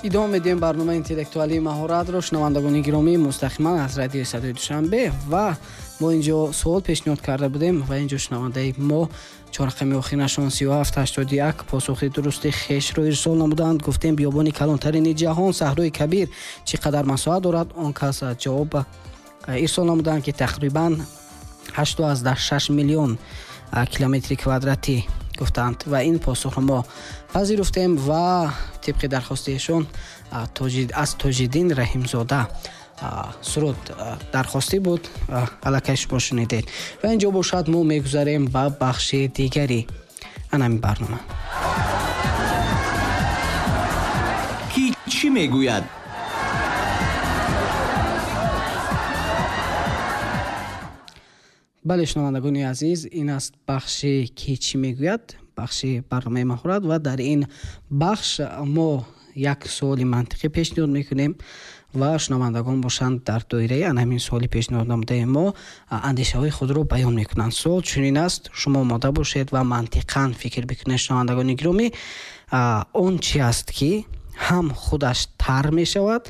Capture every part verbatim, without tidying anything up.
Идома медиҳем барномаи интеллектуалии маҳоратро, шунавандагони гиромӣ, мустақиман аз радиои Садои Душанбе. Ва мо инҷо суол пешниҳод карда будем ва инҷо шунавандаи мо чорақами охиринашон сию ҳафт ҳаштоду як посухи дурусти хешро ирсол намуданд. Гуфтем биёбони калонтарини ҷаҳон Саҳрои Кабир чӣ қадар масоҳат дорад? Он кас ҷавоб ирсол намуданд, ки тақрибан ҳашту аз даҳ шаш миллион километри квадратӣ гуфтанд ва ин посухро мо пазируфтем ва тибқи дархости эшон аз Тоҷиддин Раҳимзода суруд дархостӣ буд, аллакай шумо шунидед. Ва инҷо бошад мо мегузарем ба бахши дигари анами барнома. Ки чӣ мегӯяд? Бале, шунавандагони азиз, ин аст бахши ки чӣ мегӯяд, бахши барномаи маҳорат ва дар ин бахш мо як суоли мантиқӣ пешниҳод мекунем ва шунавандагон бошанд дар доираи ан ҳамин суоли пешниҳод намудаи мо андешаҳои худро баён мекунанд. Суол чунин аст, шумо омода бошед ва мантиқан фикр бикунед, шунавандагони гиромӣ. Он чи аст, ки ҳам худаш тар мешавад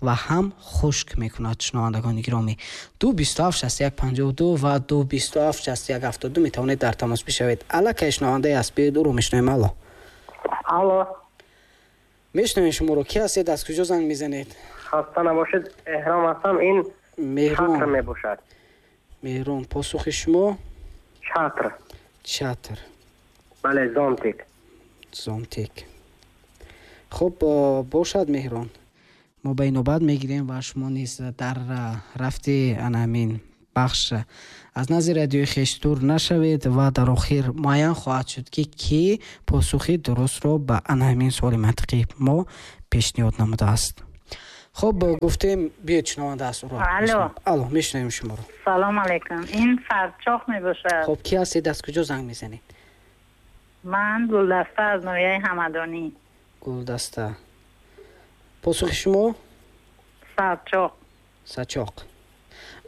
ва ҳам хушк мекунад, шунавандагони гиромӣ. Ду бисту ҳафт шасту як панҷоҳу ду ва ду бисту ҳафт шасту як ҳафтоду ду метавонед дар тамос бишавед. Аллакай шунавандае аст, биёед ӯро мешунавем. Алло. Алло. Мешунавем шуморо. Ки ҳастед, аз куҷо занг мезанед? Хаста набошед, Эҳром ҳастам. Ин Меҳрон чатр мебошад. Меҳрон, посухи шумо? Чатр. Чатр. Бале, зонтик. Зонтик. Хуб, бошад, Меҳрон. Мо ба инобат мегирем ва шумо низ дар рафти ана ҳамин бахш аз назди радиои хеш дур нашавед ва дар охир муайян хоҳад шуд, ки кӣ посухи дурустро ба ана ҳамин суоли мантиқии мо пешниҳод намудааст. Хуб, гуфтем, биёед шунаванда аст ӯро. Алло. Алло, мешунавем шуморо. Салом алайкум. Ин Сарчоқ мебошад. Хуб, кӣ ҳастед, аз куҷо занг мезанед? Ман Гулдаста аз ноҳияи Ҳамадонӣ. Гулдаста. Посухи шумо? Сарчоқ. Сачоқ.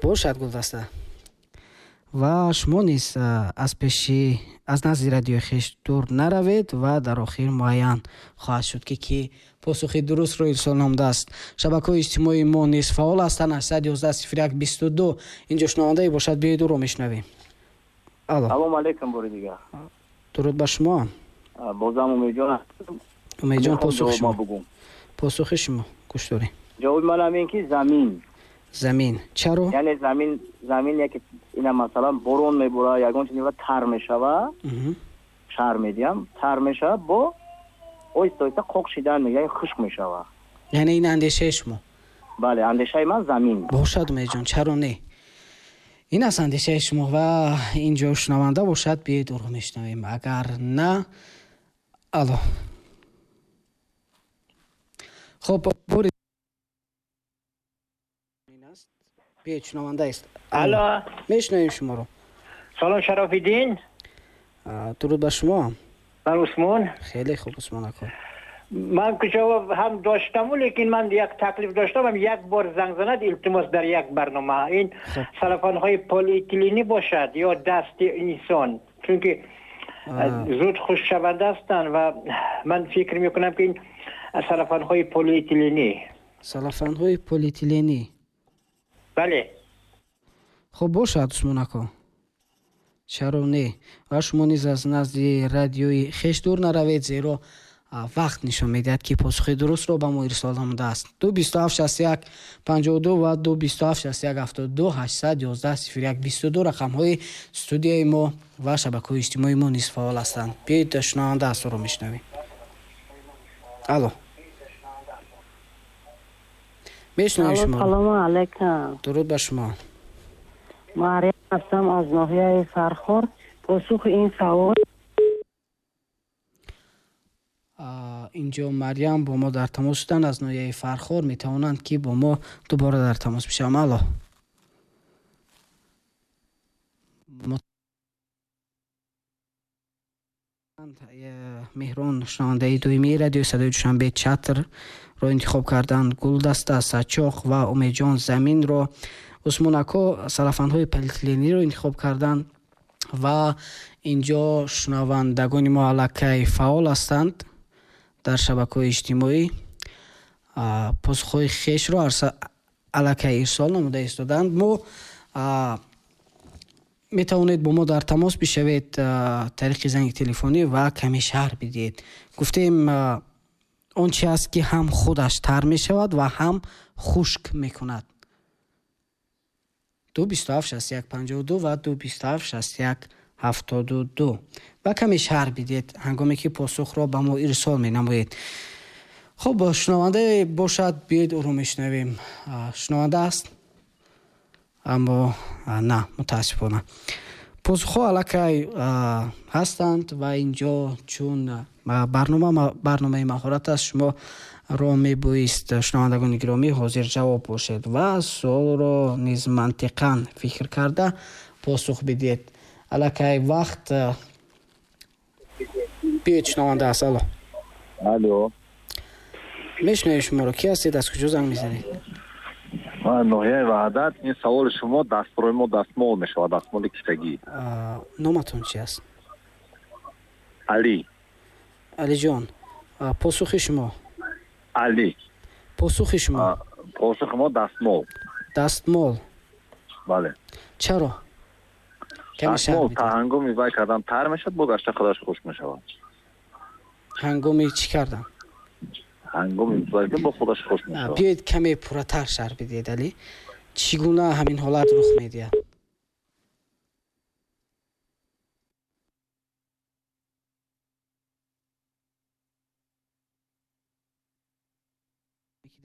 Бошад, Гулдаста. Ва шумо низ аз пеши аз назди радиои хеш дур наравед ва дар охир муайян хоҳад шуд, ки ки посухи дурустро ирсол намудааст. Шабакаҳои иҷтимоии мо низ фаъол ҳастанд. Ҳаштсад ёздаҳ сифр як бисту ду. Инҷо шунавандае бошад, биёед ӯро мешунавем. Алло. Салом алайкум, бори дигар. Дуруд ба шумо. Бозам Умедҷон. Умедҷон, посухи шумо. Посухи шумо гӯш дорем. Ҷавоби манам ин ки замин. Замин. Чаро? Яъне замин, замин яке ина масалан борон мебора, ягон чиз тар мешава, шар медиҳам, тар мешава, бо оҳиста оҳиста қоқ шидан мегирад, хушк мешава. Яъне ин андешаи шумо? Бале, андешаи ман замин. Бошад, Умедҷон, чаро не? Ин аст андешаи шумо ва инҷо шунаванда бошад, биёед ӯро мешунавем. Агар на, алло. Хуб, бори биёед, шунаванда аст. Алло. Мешунавем шуморо. Салом, Шарофиддин. Дуруд ба шумо. Ман Усмон. Хеле хуб, Усмон ака. Ман ҷавоб ҳам доштаму, лекин ман як таклиф доштам, як бор занг занад, илтимос дар як барнома. Ин салафонҳои полиэтиленӣ бошад ё дасти инсон, чунки зуд хушкшаванда ҳастанд ва ман фикр мекунам, ки ин салафонҳои полиэтиленӣ. Салафонҳои полиэтиленӣ. Бале. Хуб бошад, Усмон ака. Чаро не? Ва шумо низ аз назди радиои хеш дур наравед, зеро вақт нишон медиҳад, ки посухи дурустро ба мо ирсол намудааст. Ду бисту ҳафт шасту як панҷоҳу ду ва ду бисту ҳафт шасту як ҳафтоду ду ҳаштсад ёздаҳ сифр як бисту ду рақамҳои студияи мо ва шабакаҳои иҷтимоии мо низ фаъол ҳастанд. Биёед шунаванда аст, ӯро мешунавем. Алло. Мешунавем шуморо. Салому алайкум. Дуруд ба шумо. Марьям ҳастам аз ноҳияи Фархор. Посухи ин савол инҷо Марьям бо мо дар тамос шуданд аз ноҳияи Фархор, метавонанд ки бо мо дубора дар тамос бишаванд. Алло. Меҳрон, шунавандаи доимии радиои Садои Душанбе, чатрро интихоб карданд. Гулдаста, Сачоқ ва Умедҷон заминро, Усмон ако салафанҳои полиэтилениро интихоб карданд ва инҷо шунавандагони мо аллакай фаъол ҳастанд дар шабакаҳои иҷтимоӣ. Посухҳои хешро аллакай ирсол намуда истоданд. Мо метавонед бо мо дар тамос бишавед тариқи занги телефонӣ ва каме шарҳ бидиҳед. Гуфтем, он чи аст, ки ҳам худаш тар мешавад ва ҳам хушк мекунад. Ду бисту ҳафт шасту як панҷоҳу ду ва ду бисту ҳафт шасту як ҳафтоду ду ва каме шарҳ бидиҳед ҳангоме ки посухро ба мо ирсол менамоед. Хуб, шунаванда бошад, биёед ӯро мешунавем. Шунаванда аст, аммо на, мутаассифона. Посухҳо аллакай ҳастанд ва инҷо чун барнома барномаи маҳорат аст, шумо ро мебоист, шунавандагони гиромӣ, ҳозир ҷавоб бошед ва суолро низ мантиқан фикр карда посух бидиҳед. Аллакай вақт. Биёед, шунаванда аст. Алло. Алло. Мешунавем шуморо. Ки ҳастед, аз куҷо занг мезанед? Ноҳияи Ваҳдат. Ин саволи шумо дастрои мо дастмол мешавад, дастмоли кисагӣ. Номатон чи аст? Алӣ. Алиҷон, посухи шумо? Алӣ. Посухи шумо? Посухи мо дастмол. Дастмол. Бале. Чаро? Дастмол та ҳангоми вай кардан тар мешавад, бо гашта худаш хушк мешавад. Ҳангоми чӣ кардан? Ҳангоми вай бо худаш хушк мешавад. Биёед каме пурратар шарҳ бидиҳед, Алӣ. Чӣ гуна ҳамин ҳолат рух медиҳад?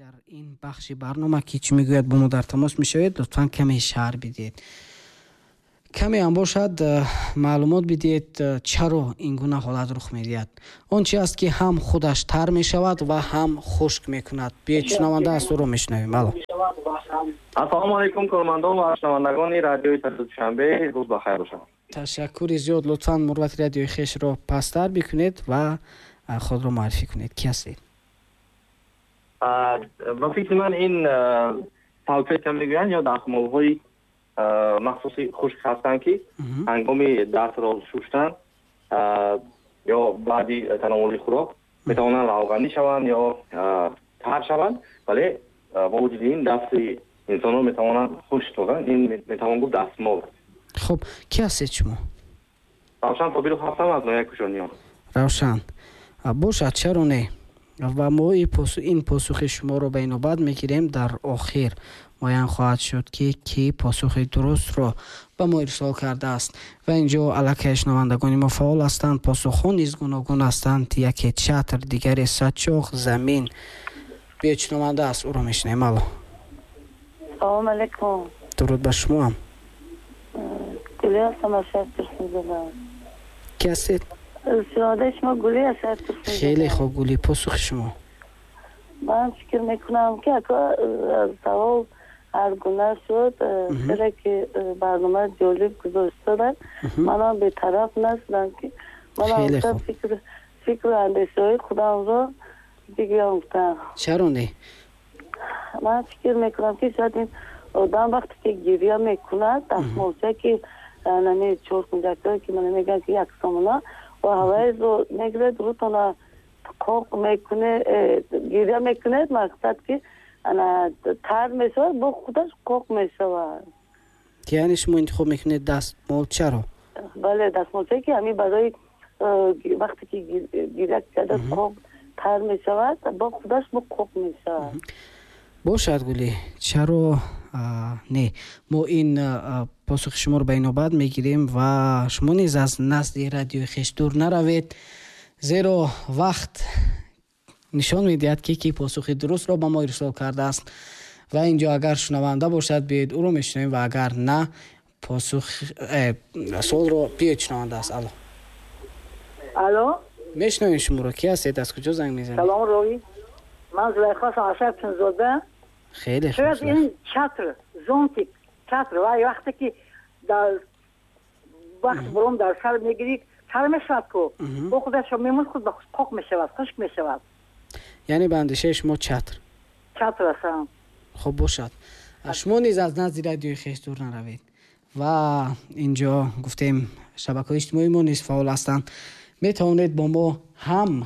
Дар ин бахши барнома ки чӣ мегӯяд бо мо дар тамос мешавед, лутфан каме шарҳ бидиҳед. Каме ҳам бошад маълумот бидиҳед, чаро ин гуна ҳолат рух медиҳад. Он чи аст, ки ҳам худаш тар мешавад ва ҳам хушк мекунад. Биёед, шунаванда аст, ӯро мешунавем. Алло. Ассалому алайкум, кормандон ва шунавандагони радиои Душанбе, рӯз ба хайр бошад. Ташаккури зиёд. Лутфан мурвати радиои хешро пасттар бикунед ва худро муаррифӣ кунед. Ки ҳастед? Ба фикри ман ин салфетка мегӯянд ё дастмолҳои махсуси хушк ҳастанд, ки ҳангоми дастро шуштан ё баъди тановули хӯрок метавонанд равғанӣ шаванд ё тар шаванд, вале бо вуҷуди ин дасти инсонро метавонанд хушк созанд. Ин метавон гуфт дастмол. Хуб, ки ҳастед шумо? Равшан Собиров ҳастам аз ноҳияи Кӯшониён. Равшан, бошад, чаро не? Ва мо ин посухи шуморо ба инобат мегирем. Дар охир муайян хоҳад шуд, ки ки посухи дурустро ба мо ирсол кардааст. Ва инҷо аллакай шунавандагони мо фаъол ҳастанд, посухҳо низ гуногун ҳастанд. Яке чатр, дигаре сачоқ, замин. Биёед, шунаванда аст, ӯро мешунавем. Алло. Салому алайкум. Дуруд ба шумоам. Гулӣ ҳастам аз шаҳри Турсунзода. Ки ҳастед? Шунавандаи шумо Гулӣ аз шаҳри Турсунзода. Хеле хуб, Гулӣ, посухи шумо? Ман фикр мекунам, ки савол ҳар гуна шуд, хеле ки барнома ҷолиб гузоштаданд, манам бетараф нашудам, ки манам фикр фикру андешаҳои худамро бигӯям гуфтам. Чаро не? Ман фикр мекунам, ки шояд ин одам вақте ки гиря мекунад, дастмолча ки нами чоркунҷакҳое ки мана мегӯянд, ки як сомона ва ҳавайро мегирад, рӯтона қоқ мекунед, гиря мекунед, мақсад ки ана тар мешавад, бо худаш қоқ мешавад. Яъне шумо интихоб мекунед дастмолчаро? Бале, дастмолчае ки ҳамин барои вақте ки гиря карда қоқ тар мешавад, бо худаш бо қоқ мешавад. Бошад, Гулӣ, чаро не? Мо ин посухи шуморо ба инобат мегирем ва шумо низ аз назди радиои хеш дур наравед, зеро вақт нишон медиҳад, ки ки посухи дурустро ба мо ирсол кардааст. Ва инҷо агар шунаванда бошад, биёед ӯро мешунавем ва агар на, посух суолро биёед, шунаванда аст. Алло. Алло. Мешунавем шуморо. Ки ҳастед, аз куҷо занг мезанед? Салом роҳӣ. Ман Зулайхо ҳастам аз шаҳри Турсунзода. Хеле хуб. Шояд ин чатр, зонтик, чатр ва вақте ки дар вақт борон дар сар мегирӣ, тар мешавад ку, бо худаш мемон худ ба худ қоқ мешавад, хушк мешавад. Яъне ба андешаи шумо чатр? Чатр аст. Хуб, бошад. Шумо низ аз назди радиои хеш дур наравед. Ва инҷо гуфтем, шабакаҳои иҷтимоии мо низ фаъол ҳастанд. Метавонед бо мо ҳам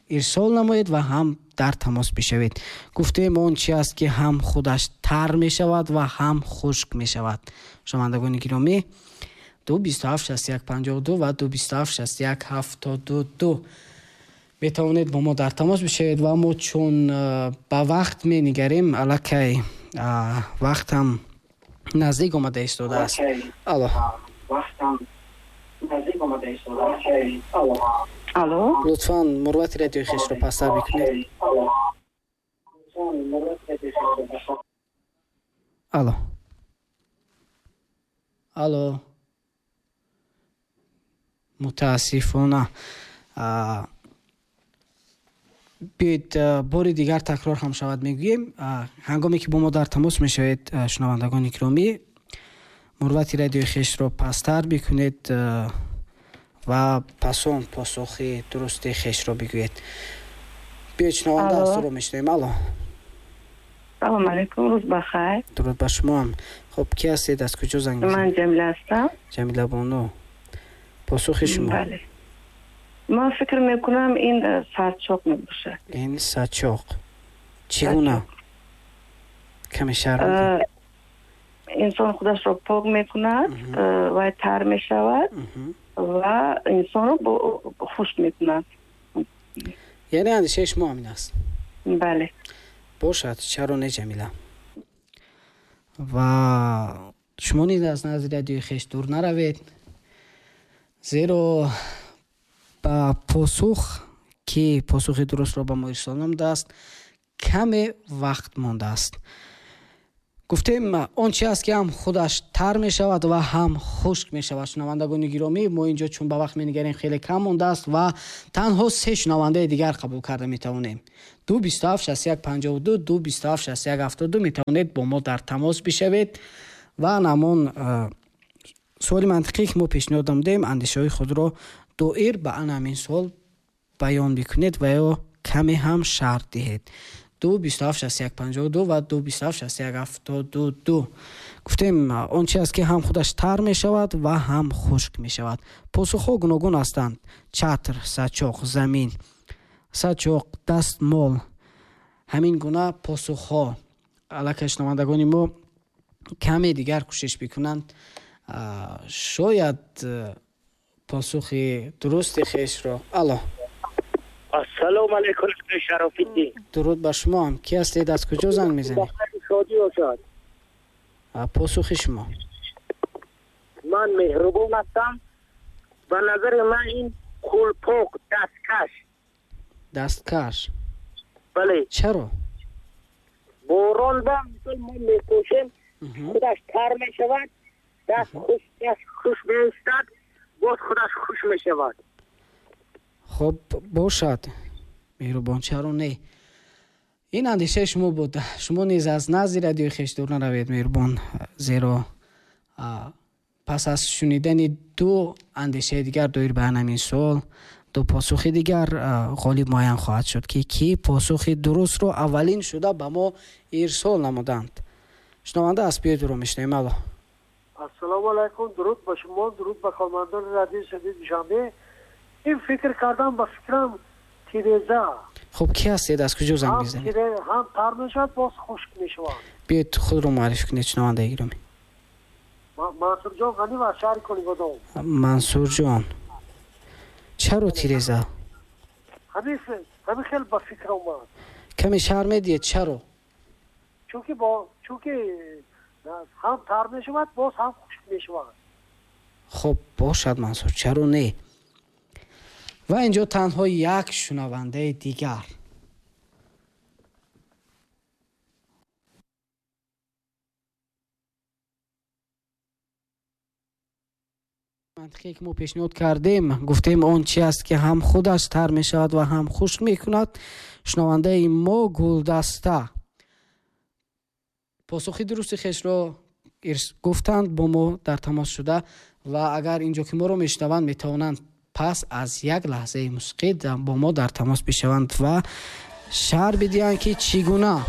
ирсол намоед ва ҳам дар тамос бишавед. Гуфтем он чи аст, ки ҳам худаш тар мешавад ва ҳам хушк мешавад. Шунавандагони гиромӣ, ду бисту ҳафт шасту як панҷоҳу ду ва ду бисту ҳафт шасту як ҳафтоду ду метавонед бо мо дар тамос бишавед ва мо чун ба вақт менигарем, аллакай вақтам наздик омада истодааст. Алло. Алло. Лутфан мурвати радиои хешро пасттар бикунед. Алло. Алло. Мутаассифона биёед бори дигар такрор ҳам шавад мегӯем. Ҳангоме ки бо мо дар тамос мешавед, шунавандагони гиромӣ, мурвати радиои хешро пасттар бикунед ва пасон посухи дурусти хешро бигӯед. Биёед шунаванда аз туро мешунавем. Алло. Салом алейкум, рӯз бахайр. Дуруд ба шумоам. Хуб, ки ҳастед, аз куҷо занг мезанед? Ман Ҷамила ҳастам. Ҷамила бону, посухи шумо? Бале. Ман фикр мекунам ин сарчоқ мебошад. Ин сарчоқ. Чӣ гуна? Каме шарҳ бидиҳед. Инсон худашро пок мекунад ва тар мешавад ва инсонро хушк мекунад. Яъне андешаи шумо ҳамин аст? Бале. Бошад, чаро не, Ҷамила? Ва шумо низ аз назди радиои хеш дур наравед, зеро ба посух, ки посухи дурустро ба мо ирсол намудааст, каме вақт мондааст. Гуфтем он чи аст, ки ҳам худаш тар мешавад ва ҳам хушк мешавад. Шунавандагони гиромӣ, мо инҷо чун ба вақт менигарем хеле кам мондааст ва танҳо се шунавандаи дигар қабул карда метавонем. Ду бисту ҳафт шасту як панҷоҳу ду, ду бисту ҳафт шасту як ҳафтоду ду метавонед бо мо дар тамос бишавед ва намон суоли мантиқӣ, ки мо пешниҳод намудем, андешаҳои худро доир ба ан ҳамин суол баён бикунед ва ё каме ҳам шарҳ диҳед. Ду бисту ҳафт шасту як панҷоҳу ду ва ду бисту ҳафт шасту як ҳафтоду ду. Гуфтем он чи аст, ки ҳам худаш тар мешавад ва ҳам хушк мешавад. Посухҳо гуногун ҳастанд: чатр, сачоқ, замин, сачоқ, дастмол. Ҳамин гуна посухҳо. Аллакай шунавандагони мо каме дигар кӯшиш бикунанд, шояд посухи дурусти хешро. Алло. Ассалому алайкум, Шарофиддин. Дуруд ба шумоам. Ки ҳастед, аз куҷо занг мезанед? Шодӣ бошад. Посухи шумо? Ман Меҳрубон ҳастам. Ба назари ман ин қулпоқ, дасткаш. Дасткаш? Бале. Чаро? Борон ба мисол мо мепӯшем, худаш тар мешавад, даст хуш, даст хуш меистад, боз худаш хуш мешавад. Хуб, бошад, Меҳрубон, чаро не? Ин андешаи шумо буд. Шумо низ аз назди радиои хеш дур наравед, Меҳрубон, зеро пас аз шунидани ду андешаи дигар доир ба ҳамин суол, ду посухи дигар ғолиб муайян хоҳад шуд, ки ки посухи дурустро аввалин шуда ба мо ирсол намуданд. Шунаванда аз биёед ӯро мешунавем. Алло. Ассалому алайкум, дуруд ба шумо, дуруд ба кормандони радиои Садои Душанбе. Ин фикр кардам, ба фикрам тиреза. Хуб, ки ҳастед, аз куҷо занг мезанед? Ҳам тар мешавад, боз хушк мешавад. Биёед худро муаррифӣ кунед, шунавандаи гиромӣ. Мансурҷон Ғанӣ аз шаҳри Конибодом. Мансурҷон, чаро тиреза? Ҳамин хел ба фикр омад. Каме шарҳ медиҳед, чаро? Чунки бо чунки ҳам тар мешавад, боз ҳам хушк мешавад. Хуб, бошад, Мансур, чаро не? Ва инҷо танҳо як шунавандаи дигар. Мантиқе ки мо пешниҳод кардем, гуфтем он чи аст, ки ҳам худаш тар мешавад ва ҳам хушк мекунад. Шунавандаи мо Гулдаста посухи дурусти хешро гуфтанд, бо мо дар тамос шуда ва агар инҷо ки моро мешунаванд, метавонанд пас аз як лаҳзаи мусиқӣ бо мо дар тамос бишаванд ва шарҳ бидиҳанд, ки чӣ гуна